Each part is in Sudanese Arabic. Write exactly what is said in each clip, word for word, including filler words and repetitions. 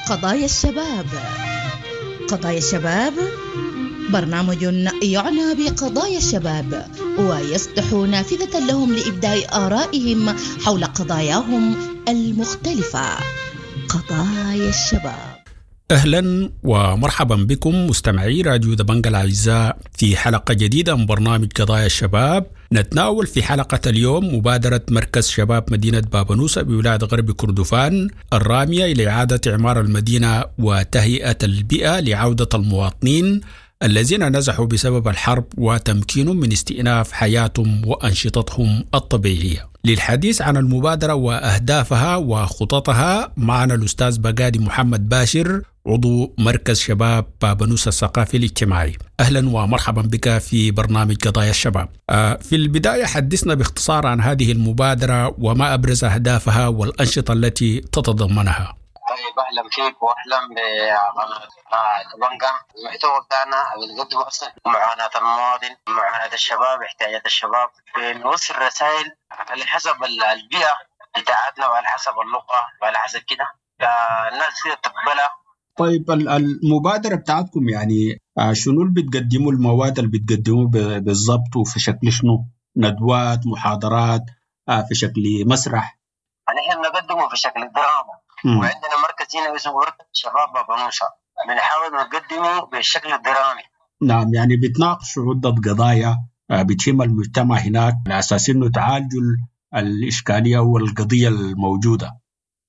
قضايا الشباب. قضايا الشباب برنامج يعنى بقضايا الشباب ويفتح نافذة لهم لإبداء آرائهم حول قضاياهم المختلفة. قضايا الشباب. أهلا ومرحبا بكم مستمعي راديو دبنجا الأعزاء في حلقة جديدة من برنامج قضايا الشباب. نتناول في حلقة اليوم مبادرة مركز شباب مدينة بابنوسة بولاية غرب كردفان الرامية إلى إعادة إعمار المدينة وتهيئة البيئة لعودة المواطنين الذين نزحوا بسبب الحرب وتمكينهم من استئناف حياتهم وأنشطتهم الطبيعية. للحديث عن المبادرة وأهدافها وخططها معنا الأستاذ بقادي محمد باشر، عضو مركز شباب بابنوسة الثقافي الاجتماعي. أهلا ومرحبا بك في برنامج قضايا الشباب. في البداية حدثنا باختصار عن هذه المبادرة وما أبرز أهدافها والأنشطة التي تتضمنها. طيب، اهلا فيك واهلا بقناه دبنجا. المحتوى بتاعنا بنقدمه اصلا معاناة المواطن، معاناة الشباب، احتياجات الشباب، بنوصل رسائل على حسب البيئة بتاعتنا وعلى حسب اللغة وعلى حسب كده الناس كده تقبلها. طيب، المبادرة بتاعتكم يعني شنو اللي بتقدموا، المواد اللي بتقدموه بالضبط وفي شكل شنو؟ ندوات، محاضرات، في شكل مسرح؟ نحن بنقدمه في شكل دراما. مم. وعندنا مركز هنا اسمه مركز شباب بابنوسة، بنحاول نقدمه بالشكل الدرامي. نعم، يعني بتناقشوا عدة قضايا بتهم المجتمع هناك على أساس إنه تعالجوا الإشكالية والقضية الموجودة.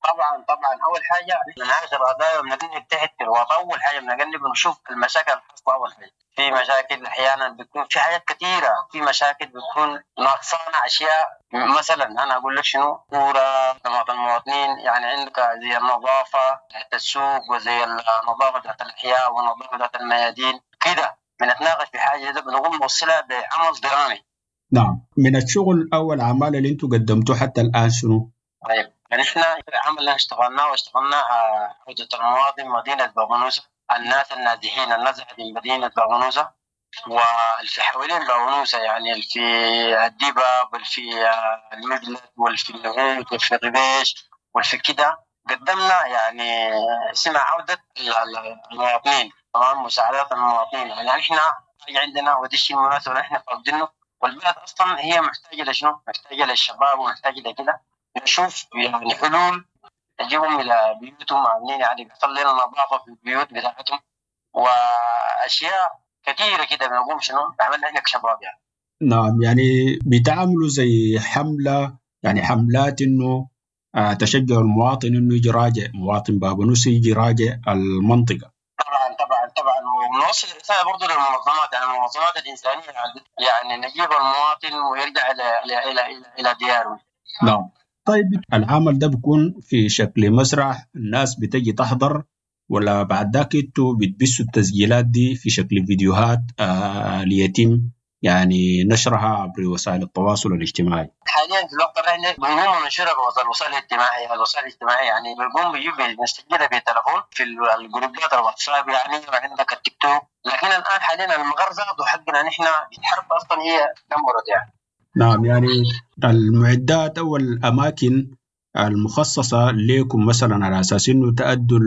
طبعا طبعا اول حاجة بنناقش القضايا وبنقلب تحت في الوطن. اول حاجة بنقلب ونشوف المشاكل الحاصلة. اول حاجة في مشاكل احيانا بتكون في حاجات كثيرة، في مشاكل بتكون ناقصانا اشياء. مثلا انا اقول لك شنو، كورة خدمات المواطنين، يعني عندك زي النظافة تحت السوق وزي النظافة بتاعت الاحياء والنظافة بتاعت الميادين كده. بنتناقش في حاجة ده بنقوم نوصلها بعمل درامي. نعم، من الشغل او الاعمال اللي انتم قدمتوه حتى الان شنو؟ طيب، نحن العمل اللي اشتغلناه واشتغلنا عودة المواطن مدينة بابنوسة، الناس النازحين النزحت من مدينة بابنوسة واللي حوالين بابنوسة، يعني في الدباب والفي المجلد والفي النهود والفي الربيش والفي كده. قدمنا يعني اسمها عودة المواطنين، تمام، مساعدات المواطنين. يعني نحن عندنا ودي الشيء المناسب اللي نحن فاقدينه، والبلد أصلا هي محتاجة لشنو؟ محتاجة للشباب ومحتاجة لكده. نشوف يعني حلول تجيبهم الى بيوتهم عاملين، يعني بيحصل لنا نظافة في البيوت بتاعتهم واشياء كثيرة كده. بنقوم شنو عملنا احنا كشباب يعني. نعم، يعني بتعملوا زي حمله، يعني حملات انه آه تشجعوا المواطن انه يجي راجع، مواطن بابنوسي يجي راجع المنطقة. طبعا طبعا طبعا، ونوصل الرسالة برضه للمنظمات، يعني المنظمات الانسانية، يعني نجيب المواطن ويرجع الى الى الى الى, إلى دياره. نعم. طيب، العمل ده بيكون في شكل مسرح، الناس بتجي تحضر، ولا بعد ذاك انتوا بتبثوا التسجيلات دي في شكل فيديوهات آه ليتم يعني نشرها عبر وسائل التواصل الاجتماعي؟ حاليا في الوقت الراهن بنقوم ننشرها بالوسائل الاجتماعية، الوسائل الاجتماعية يعني بنقوم بنجيب نسجلها بالتلفون في الجروبات الواتساب يعني، وعندك التيك توك. لكن الان حاليا المغرزه حقنا نحن الحرب اصلا هي دمرت يعني. نعم، يعني المعدات أو الأماكن المخصصة لكم مثلا على أساس إنه تأدوا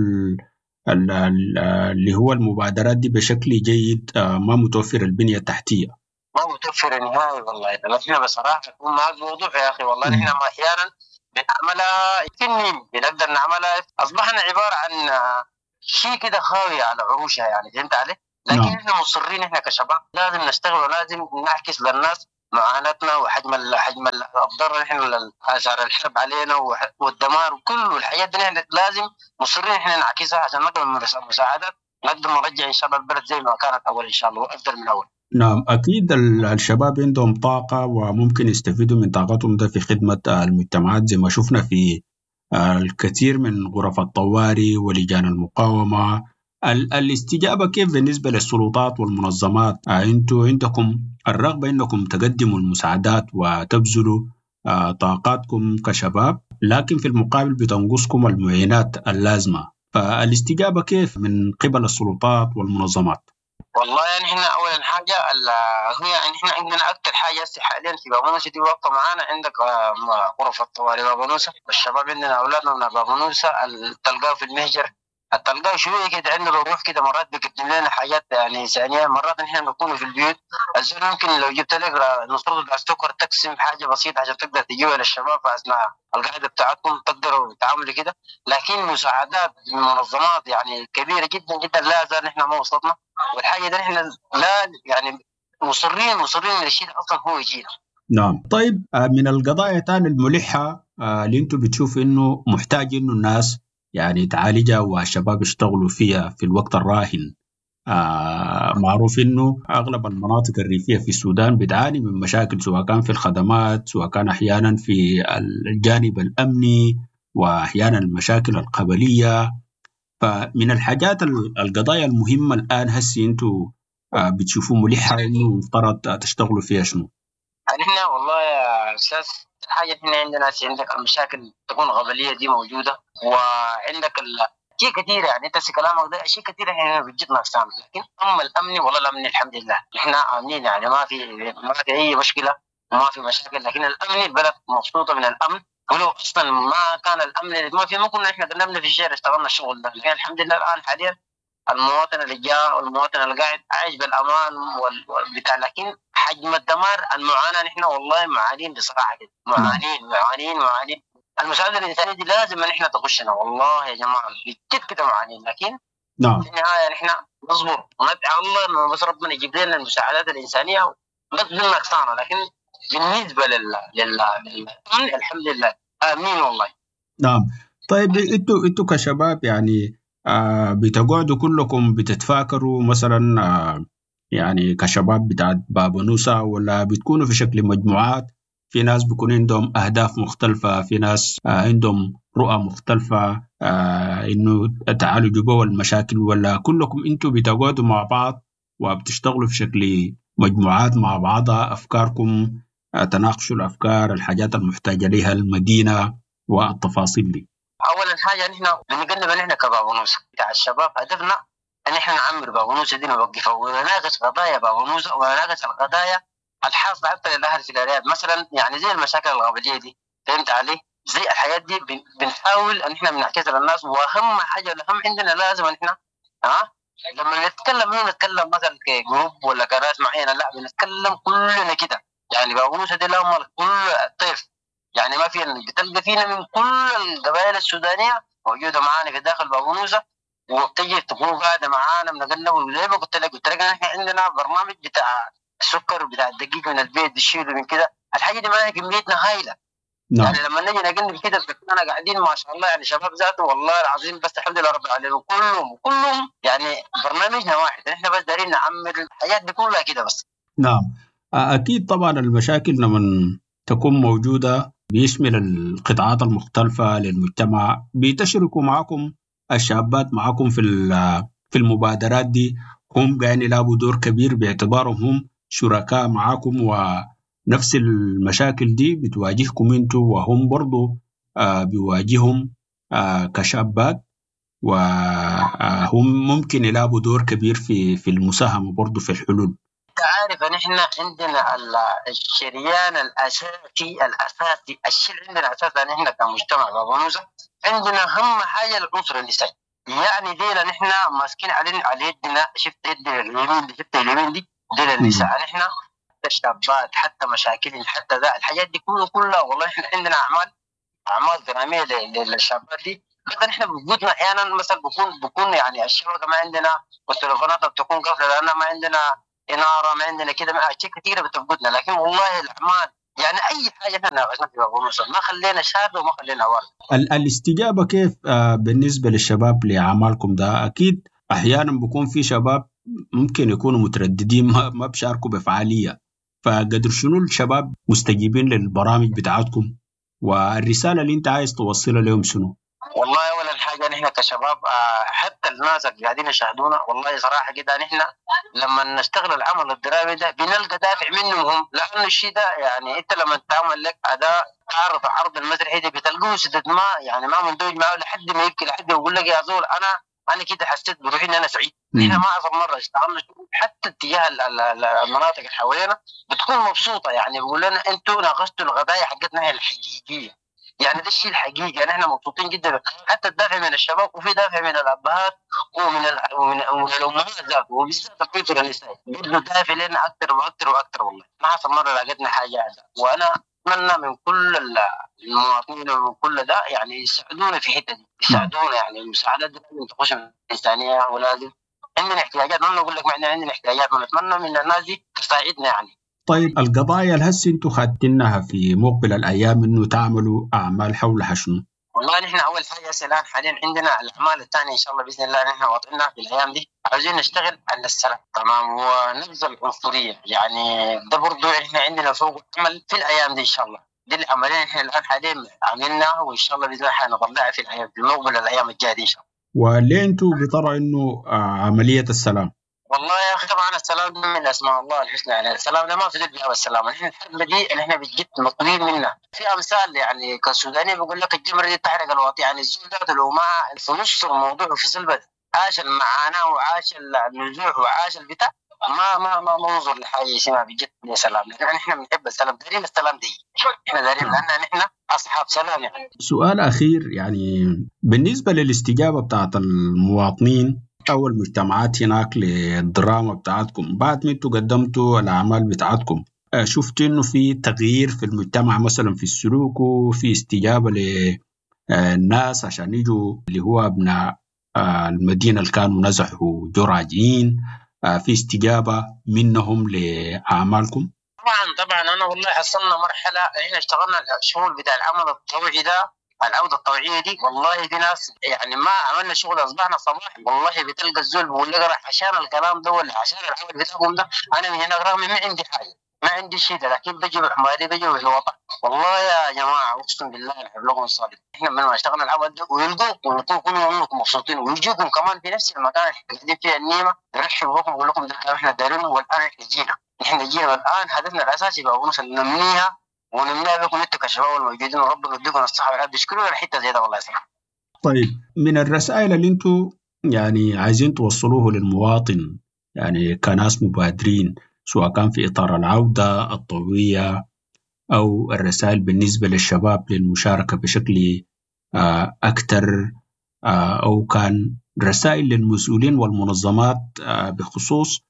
اللي هو المبادرات دي بشكل جيد ما متوفر البنية التحتية. ما متوفر نهائي والله. نحن بصراحة أكون معك بوضوح يا أخي، والله نحن ما أحيانا بنعملها تنين بنقدر نعملها، أصبحنا عبارة عن شيء كده خاوية على عروشها يعني، فهمت علي؟ لكن نعم. نحن مصرين نحن كشباب لازم نشتغل ولازم نعكس للناس معاناتنا وحجم حجم الضرر نحن اثار الحرب علينا والدمار وكل الحاجات دي، نحن لازم مصرين احنا نعكسها عشان نقدر مساعدات نقدر نرجع ان شاء الله البلد زي ما كانت اول ان شاء الله وافضل من اول. نعم، اكيد الشباب عندهم طاقة وممكن يستفيدوا من طاقتهم ده في خدمة المجتمعات، زي ما شفنا في الكثير من غرف الطوارئ ولجان المقاومة. الاستجابة كيف بالنسبة للسلطات والمنظمات؟ انتوا عندكم الرغبة انكم تقدموا المساعدات وتبذلوا طاقاتكم كشباب، لكن في المقابل بتنقصكم المعينات اللازمة، فالاستجابة كيف من قبل السلطات والمنظمات؟ والله يعني احنا اولا حاجة هي يعني احنا عندنا اكثر حاجة حاليا في بابنوسه دي واقفة معانا، عندك غرف الطوارئ بابنوسه، والشباب عندنا اولادنا من بابنوسه تلقاه في المهجر تلقاه شوية كده عنده الروح كده، مرات بيقدم لنا حاجات يعني انسانيه. مرات نحن بنكون في البيوت، الزول ممكن لو جبت لك نص بتاع السكر تقسم حاجة بسيطة عشان تقدر تجيبها للشباب في اثناء القعدة بتاعتكم، تقدروا تعملوا كده. لكن مساعدات من منظمات يعني كبيرة جدا جدا لا زال نحن ما وصلتنا، والحاجة دي نحن لا يعني مصرين مصرين الشيء اصلا هو يجينا. نعم. طيب من القضايا تاني الملحة اللي انتم بتشوفوا انه محتاج انه الناس يعني تعالجها والشباب يشتغلوا فيها في الوقت الراهن، آه معروف انه اغلب المناطق الريفية في السودان بتعاني من مشاكل، سواء كان في الخدمات، سواء كان احيانا في الجانب الامني، واحيانا المشاكل القبلية. فمن الحاجات القضايا المهمة الان هسي انتم آه بتشوفوا ملحة انه مفترض تشتغلوا فيها شنو؟ نحن والله يا استاذ حاجة احنا عندنا عندك المشاكل تكون قبليه دي موجودة، وعندك ال... شيء كثير يعني انت كلامك ده شيء كثير احنا بجد ناقصانا. لكن اما الامني والله الامني الحمد لله احنا امنين، يعني ما في ما في اي مشكلة وما في مشاكل. لكن الامني البلد مبسوطة من الامن، ولو اصلا ما كان الامن ما في ما كنا احنا قدمنا في الشارع اشتغلنا الشغل ده. لكن الحمد لله الان حاليا المواطن اللي جاء والمواطن اللي قاعد عايش بالامان والبتاع. لكن حجم الدمار المعاناة نحن والله معانين بصراحة كده، معانين معانين معانين. المساعدة الانسانية دي لازم ان احنا تخشنا والله يا جماعة بجد كده معانين. لكن نعم في النهاية نحن نصبر وندعي الله انه بس ربنا يجيب لنا المساعدات الانسانية بس ناقصانا. لكن بالنسبة لل لل لل الحمد لله امين والله. نعم. طيب انتوا انتوا كشباب يعني آه بتقعدوا كلكم بتتفاكروا مثلا آه يعني كشباب بتاعت بابونوسة، ولا بتكونوا في شكل مجموعات؟ في ناس بيكون عندهم أهداف مختلفة، في ناس آه عندهم رؤى مختلفة آه إنه تعالوا جوا المشاكل، ولا كلكم أنتوا بتقعدوا مع بعض وبتشتغلوا في شكل مجموعات مع بعضها، أفكاركم آه تناقشوا الأفكار، الحاجات المحتاجة لها المدينة والتفاصيل دي؟ اولا حاجة نحن بنقلب نحن كبابونوسة بتاع الشباب، هدفنا ان احنا نعمر بابونوسة دي نوقفها ونناقش قضايا بابونوسة ونناقش القضايا الحاصلة حتى للاهل في الارياف مثلا، يعني زي المشاكل القبلية دي، فهمت علي؟ زي الحياة دي بنحاول ان احنا بنعكسها للناس. واهم حاجة الاهم عندنا لازم ان احنا ها لما نتكلم ما نتكلم مثلا ك group ولا كناس معينة، لا بنتكلم كلنا كده. يعني بابونوسة دي لهم كل طيف، يعني ما في بتلقى فينا من كل القبائل السودانية موجودة معانا في داخل بابونوسة، وبتجي تكون قاعدة معانا بنقلب. زي ما قلت لك قلت لك احنا عندنا برنامج بتاع السكر بتاع الدقيق من البيت بيشيلوا من كده، الحاجة دي معانا كميتنا هايلة. نعم. يعني لما نجي نقلب كده بنكون قاعدين ما شاء الله، يعني شباب ذاته والله العظيم بس الحمد لله رب العالمين كلهم كلهم يعني برنامجنا واحد، احنا بس دارين نعمر الحاجات دي كلها كده بس. نعم اكيد طبعا المشاكل لما تكون موجودة بيشمل القطاعات المختلفة للمجتمع، بتشركوا معكم الشابات معكم في في المبادرات دي، هم قاعدين يلعبوا دور كبير باعتبارهم هم شركاء معكم، ونفس المشاكل دي بتواجهكم انتوا وهم برضو بيواجههم كشابات، وهم ممكن يلعبوا دور كبير في في المساهمة برضو في الحلول. عارف ان احنا عندنا الشريان الاساسي الاساسي الشيء اللي عندنا اساسا احنا كمجتمع بابونوسة عندنا اهم حاجة العنصر النسائي. يعني دينا نحن ماسكين على على يدنا، شفت يدنا اليمين دي، شفت اليمين دي دينا النساء. نحن الشابات حتى مشاكلهم حتى ذا الحاجات دي كلها كلها والله احنا عندنا اعمال اعمال درامية للشابات دي. بس نحن بوجودنا احيانا مثلا بكون بكون يعني الشبكة ما عندنا والتليفونات بتكون قافله لان ما عندنا إنارة، ما عندنا كده، ما أشياء كثيرة بتفقدنا. لكن والله الأعمال يعني أي حاجة إحنا ناقشنا في بابونوسة ما خلينا شاب وما خلينا ورد. الاستجابة كيف بالنسبة للشباب لأعمالكم ده؟ أكيد أحيانا بيكون في شباب ممكن يكونوا مترددين ما, ما بشاركوا بفعالية، فقدر شنو الشباب مستجيبين للبرامج بتاعتكم والرسالة اللي أنت عايز توصلها لهم شنو؟ والله أولا حاجة نحن كشباب حتى الناس اللي قاعدين يشاهدونا والله صراحة كده نحن لما نشتغل العمل الدرامي ده بنلقى دافع منهم هم، لأنه الشيء ده يعني أنت لما تعمل لك أداء تعرض عرض المسرحي ده بتلقوه سدد ما يعني ما مندمج معه لحد ما يبكي، لحد ما يقول لك يا زول أنا أنا كده حسيت بروحي إن أنا سعيد. نحن ما أصلا مرة اشتغلنا حتى اتجاه المناطق اللي حوالينا بتكون مبسوطة، يعني بيقول لنا أنتوا ناقشتوا القضايا حقتنا الحقيقية. يعني ده الشيء الحقيقي. نحن مبسوطين جدا، حتى الدافع من الشباب وفي دافع من الابهات ومن ال... ومن, ومن الامهات ذاته، وبالذات الطفل النسائي برضه دافع لنا اكثر واكثر واكثر. والله ما حصل مرة لقيتنا حاجة. وانا اتمنى من كل المواطنين ومن كل ده يعني يساعدونا في الحتة دي، يساعدونا يعني المساعدات دي لازم تخش انسانيه، ولازم عندنا احتياجات، ما بنقول لك ما احنا عندنا احتياجات، ونتمنى من الناس دي تساعدنا يعني. طيب القضايا اللي هسه انتم خاتينها في مقبل الايام انه تعملوا اعمال حولها شنو؟ والله نحن اول حاجة هسه الان حاليا عندنا الاعمال الثانية ان شاء الله باذن الله نحن واضعينها في الايام دي، عاوزين نشتغل على السلام تمام ونبذ العنصرية، يعني ده برضه احنا عندنا فوق عمل في الايام دي ان شاء الله. دي العملية نحن الان حاليا عملناها، وان شاء الله باذن الله حنطلعها في الايام في مقبل الايام الجاية دي ان شاء الله. وليه انتم بترى انه عملية السلام؟ والله يا اخي طبعا السلام من اسماء الله الحسنى، يعني السلام ده ما في باب السلام. نحن الحرب دي نحن بجد مطلوبين منها في امثال، يعني كسوداني بيقول لك الجمرة دي تحرق الواطي، يعني الزول ده لو ما في نص الموضوع وفي سلبه عاش المعاناة وعاش النزوح وعاش البتاع ما ما ما ننظر لحاجة اسمها بجد يا سلام. يعني احنا بنحب السلام، دارين السلام دي احنا دارين لان نحن اصحاب سلام. يعني سؤال اخير، يعني بالنسبة للاستجابه بتاعت المواطنين او المجتمعات هناك للدراما بتاعتكم، بعد ما انتم قدمتوا الاعمال بتاعتكم شفت انه في تغيير في المجتمع مثلا في السلوك وفي استجابة للناس عشان يجوا اللي هو ابناء المدينة اللي كانوا نزحوا جو راجعين، في استجابة منهم لاعمالكم؟ طبعا طبعا انا والله حصلنا مرحلة احنا اشتغلنا الشغل بتاع العمل الطوعي ده، العودة الطوعيه دي، والله في ناس يعني ما عملنا شغل اصبحنا صباح والله بتلقى الزول بيقول لك عشان الكلام ده ولا عشان العمل بتاعكم ده انا من هناك رغم ما عندي حاجة ما عندي شيء ده، لكن بجي بحماري بجي بالوضع. والله يا جماعة اقسم بالله نحب لكم الصادق، احنا من ما اشتغلنا العمل ده ويلقوكم ويكونوا كلكم مبسوطين ويجوكم كمان في نفس المكان اللي قاعدين فيه النيمه يرحبوا بكم ويقول لكم ده الكلام احنا دايرينه، والان احنا جينا احنا جينا والان هدفنا الاساسي بقى ننميها ونمنع بكم انتم كشباب الموجودين، وربنا يديكم الصحة والعافية. اشكروا الحتة زي ده والله صراحة. طيب من الرسائل اللي انتم يعني عايزين توصلوه للمواطن، يعني كناس مبادرين سواء كان في اطار العودة الطوعيه او الرسائل بالنسبة للشباب للمشاركة بشكل اكثر، او كان رسائل للمسؤولين والمنظمات بخصوص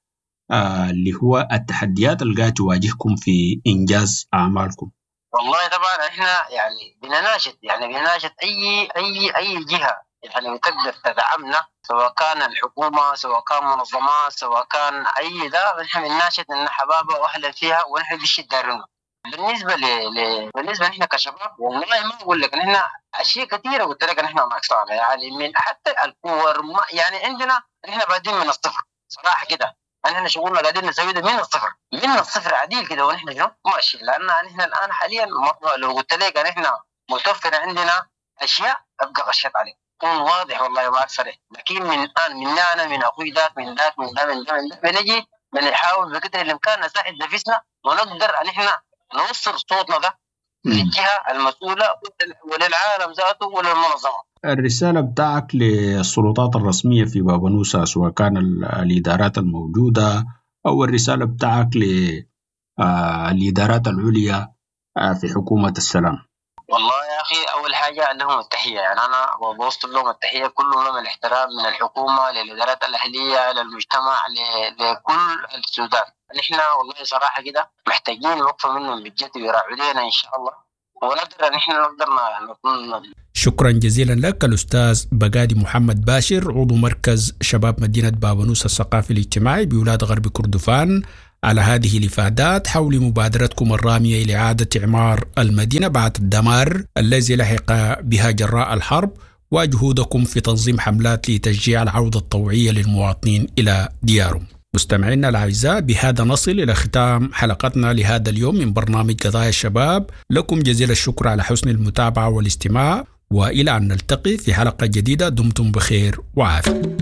اللي هو التحديات اللي قاعدة تواجهكم في إنجاز أعمالكم؟ والله طبعا احنا يعني بنناشد، يعني بنناشد اي اي اي جهة يعني بتقدر تدعمنا، سواء كان الحكومة سواء كان منظمات سواء كان اي ده، نحن بنناشد ان حبابة واهلا فيها ونحن بالشيء دارنا. بالنسبة ل... ل... بالنسبة نحن كشباب والله ما اقول لك نحن اشياء كثيرة قلت لك نحن ناقصانا، يعني من حتى الكور ما... يعني عندنا نحن بادين من الصفر صراحة كده، نحن شغلنا قاعدين نسوي ده من الصفر من الصفر عديل كده، ونحن شنو ماشي، لان نحن الان حاليا لو قلت لك نحن متوفر عندنا اشياء ابقى غشيت عليك كون واضح والله ما صريح، لكن من الان من انا من اخوي ذاك من ذاك من ذا من ذا من ذا بنجي بنحاول بقدر الامكان نساعد نفسنا ونقدر ان احنا نوصل صوتنا ده للجهة المسؤولة وللعالم ذاته وللمنظمه. الرسالة بتاعك للسلطات الرسمية في بابنوسة سواء كان الإدارات الموجودة أو الرسالة بتاعك للإدارات العليا في حكومة السلام؟ والله يا أخي أول حاجة لهم التحية، يعني أنا بوصل لهم التحية كلهم الاحترام من الحكومة للإدارات الأهلية للمجتمع لكل السودان. نحن والله صراحة كده محتاجين وقفة منهم بجد ويراعوا لنا إن شاء الله، ونقدر نحن نقدر نكون. شكرا جزيلا لك الأستاذ بقادي محمد باشر، عضو مركز شباب مدينة بابنوس الثقافي الاجتماعي بولاد غرب كردفان، على هذه الإفادات حول مبادرتكم الرامية إلى إعادة إعمار المدينة بعد الدمار الذي لحق بها جراء الحرب، وجهودكم في تنظيم حملات لتشجيع العودة الطوعية للمواطنين إلى ديارهم. مستمعينا الأعزاء، بهذا نصل إلى ختام حلقتنا لهذا اليوم من برنامج قضايا الشباب. لكم جزيل الشكر على حسن المتابعة والاستماع، وإلى أن نلتقي في حلقة جديدة دمتم بخير وعافية.